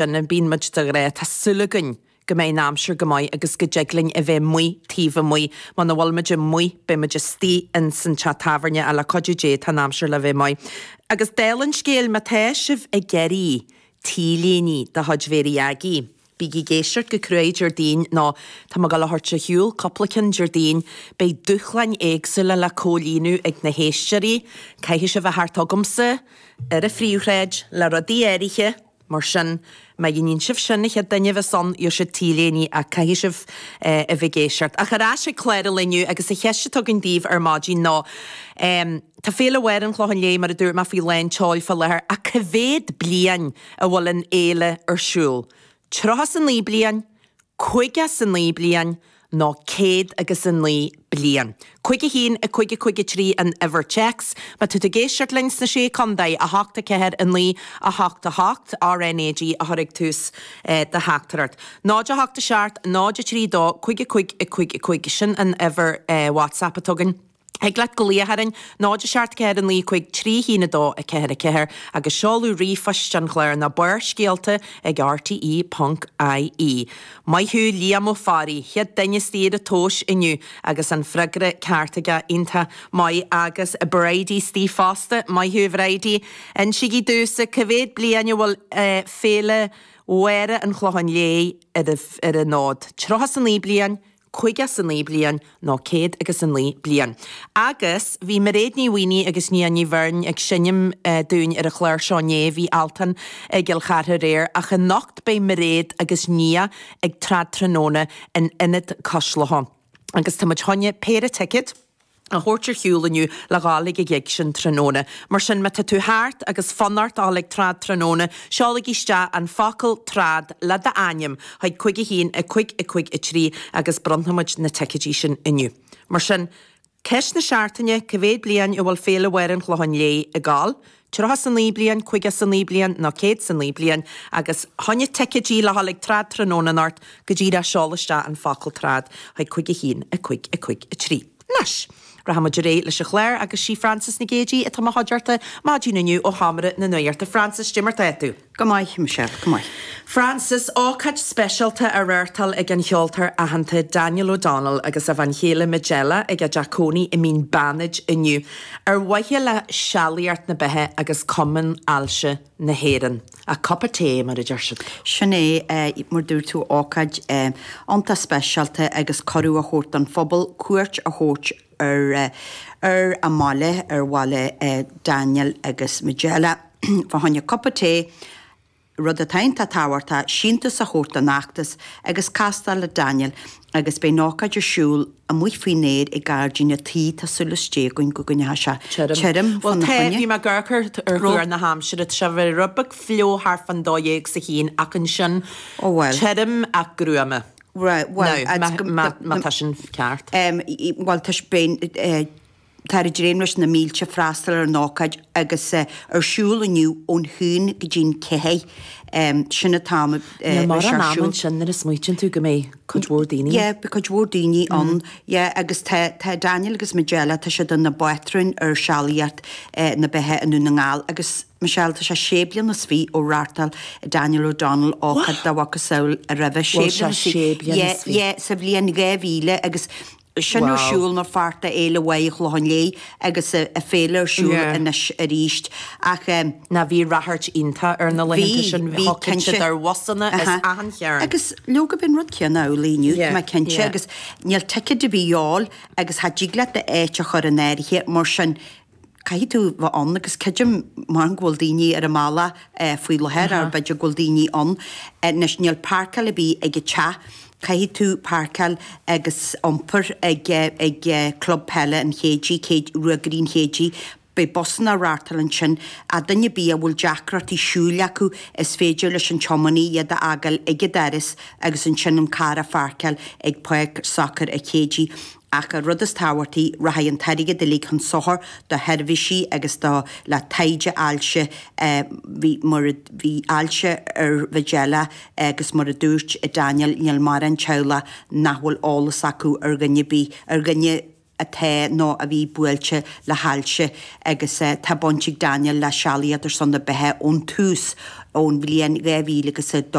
Sin a bíonn muid de ghnáth. Tá súil againn go mbeidh an aimsir go maith agus go dtig linn a bheith amuigh taobh amuigh. Muna bhfuil muid amuigh beidh muid istigh ins an teach tábhairne ach le cuidiú Dé tá an aimsir le bheith maith. Agus dála an scéil, má tá sibh ag iarraidh T-léiní de chuid Mhéirí Aggie, bígí ag éisteacht go cruaidh Déardaoin nó tá mé ag dul a thabhairt ar shiúl cúpla ceann Déardaoin. Beidh dúshláin éagsúla le comhlíonadh ag na héisteoirí. Caithfidh sibh a theacht chugamsa ar an phríomhshráid le rudaí áirithe. Mar sin, má dhéanann sibh sin, an chéad duine a bheas ann, gheobhaidh sibh T-léiní ach caithfidh sibh a bheith ag éisteacht. Ach ar ais ag clár an lae inniu agus an cheist atá againn daoibh ar maidin ná, tá Féile Mháire an Chlocháin Léith, mar a dúirt mé, faoi lán tseoil fá láthair ach cá mhéad bliain a bhfuil an fhéile ar siúl? 39 bliain? 59 bliain nó 109 bliain. 5 1 5 5 3 an uimhir téacs. Má tá tú ag éisteacht linn sna Sé Contae, 8 4 9 8 8, RNAG a chur ag tús do theachtaireacht. 0 8 7 0 3 2 5 5 5 5, sin an uimhir WhatsApp atá againn. Thig leat glaoch orainn, 0 7 4 9 5 3 1 2 4 4, agus seoladh ríomhphoist an chláir ná Barrscéalta ag rte ponc ie. Maith thú Liam Ó Fearraigh, chéad duine istigh ar an tomhas inniu agus an freagra ceart aige, iontach maith agus Bridie istigh fosta, maith thú a Bhridie. Insígí domhsa cá mhéad bliain a bhfuil Féile Mháire an Chlocháin Léith ar an fhód? 39 bliain? 59 bliain nó céad agus 9 bliain. Agus bhí Mairéad Ní Mhaonaigh agus Nia Ní Bheirn ag seinm dúinn ar an chlár seo inné, bhí Altan i gCill Chartha aréir, ach anocht beidh Mairéad agus Nia ag Trad Tráthnóna in Ionad Cois Locha. Agus tá muid chun péire ticéad. a thabhairt ar shiúl inniu le dhul ag an ghig sin tráthnóna. Mar sin, má tá tú thart agus fonn ort a dhul ag trad tráthnóna, seolaigí isteach an focal 'trad' le d'ainm chuig 5 1 5 5 3 agus bronnfaidh muid na ticéidí sin inniu. Mar sin, ceist na seachtaine, cá mhéad bliain a bhfuil Féile Mháire an Chlocháin Léith ag gabháil? 39 bliain, 59 bliain nó 109 bliain agus fá choinne ticéidí le dhul ag trad tráthnóna anocht go díreach seol isteach an focal trad chuig 5 1 5 5 3. Anois, rachaidh muid ar aghaidh leis an chlár agus sí Frances Nic Géadaigh atá i mo chuideachta maidin inniu ó Sheomra na Nuachta. Frances, cad é mar tá tú? Go maith, Michelle, go maith. Frances, ócáid speisialta á reáchtáil ag an cheoltóir aitheanta Daniel O'Donnell agus a bhean chéile Majella ag a dteach cónaí i Mín Beanaid inniu ar mhaithe le Sealaíocht na Beithe agus Cumann Ailse na hÉireann. A cup of tae, mar a deir siad. Sin é, mar dúirt tú, ócáid iontach speisialta agus cuireadh a thabhairt don phobal cuairt a thabhairt ar ar a mbaile, ar bhaile Daniel agus Majella. Fá choinne cupa tae, rud atá iontach tábhachtach, síntiús a thabhairt don fheachtas agus castáil le Daniel agus beidh an ócáid ar siúl amuigh faoin aer i ngairdín an tí, tá súil is Dé againn go gcoinneoidh sé tirim Bhuel fána tá, choinne. bhí mé ag amharc ar thuar na haimsire, tá sé a bheith rud beag fliuch thart fán dó dhéag 's a haon ach ansin Ó bhuel. tirim ach gruama. Right, bhuel, Now, má, má tá sin ceart. Bhuel, tá, beidh, Táthar ag dréim leis na mílte freastal ar an ócáid agus ar siúl inniu ón haon go dtí'n ceathair. Sin an t-am a Níl beidh sé mórán ar ama siúl. ansin nuair a smaoitíonn tú go mbeidh cuid mhór daoine. Yeah, beidh cuid mhór daoine ann. Yeah, agus tá tá Daniel agus Majella, tá siad ina bpátrúin ar Sealaíocht na Beithe i nDún na nGall agus Michelle, tá sé sé bliana is fiche ó reáchtáil Daniel O'Donnell ócáid dá mhacasamhail roimhe. Sé Bhfuil sé bliana is fiche. sé bliana Yeah, is fiche? yeah, sa bhliain 2000 agus Sin ar siúl mar pháirt de Fhéile Mháire Chlocháin Léith agus a féile ar siúl anois arís. Ach. Ná bhí ráchairt iontach ar na laethanta sin, thiocfadh siad ar bhusanna as achan chearn. Agus leoga bíonn rud céanna amhlaidh inniu, tá mé cinnte, agus níl ticéid ar bith a dhíol agus cha dtig leat d'áit a chur in áirithe, mar sin caithfidh tú bheith ann agus creidim mar go bhfuil daoine ar an mbealach faoi láthair or b'fhéidir go bhfuil daoine ann. Anois níl páirceáil ar bith ag an teach, caithfidh tú páirceáil agus iompar ag ag Club Peile an Chéidigh, Ruagairí an Chéidigh, beidh busanna á reáchtáil ansin. Ach duine ar bith a bhfuil deacrachtaí siúil acu is féidir leis an tiománaí iad a fhágáil ag an doras agus ansin an carr a pháirceáil ag Páirc Sacair an Chéidigh. Ach an rud is tábhachtaí, rachaidh an t-airgead uilig chun sochair do sheirbhísí agus do le taighde ailse. Bhí mar a bhí ailse ar Mhajella agus mar a dúirt Daniel níl mórán teaghlach nach bhfuil eolas acu ar dhuine ar bith, ar dhuine. atá nó a bhí buailte le hailse agus tá baint ag Daniel le Sealaíocht ar son na Beatha ón tús, ón bhliain 2000 agus 2.